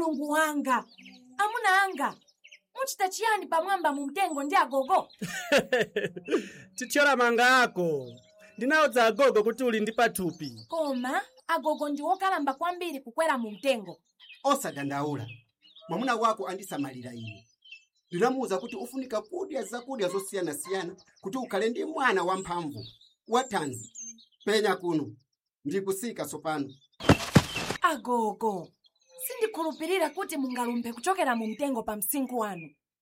Mulungu wanga, amuna anga, muchita chiyani pamwamba mu mtengo ndi agogo? Tithyola manga ako. Ndinawuza agogo kuti uli ndi pathupi. Koma agogo ndi wokalamba kwambiri kukwera mu mtengo. Osadandaula, mwamuna wako andisamalira ine. Ndinamuwuza kuti ufunika kudya zakudya zosiyanasiyana kuti ukhale ndi mwana wamphamvu, wathanzi. Penya kuno, ndikusika tsopano. Agogo, sindikhulupirira kuti mungalumphe kuchokera mu mtengo pa msinkhu wanu.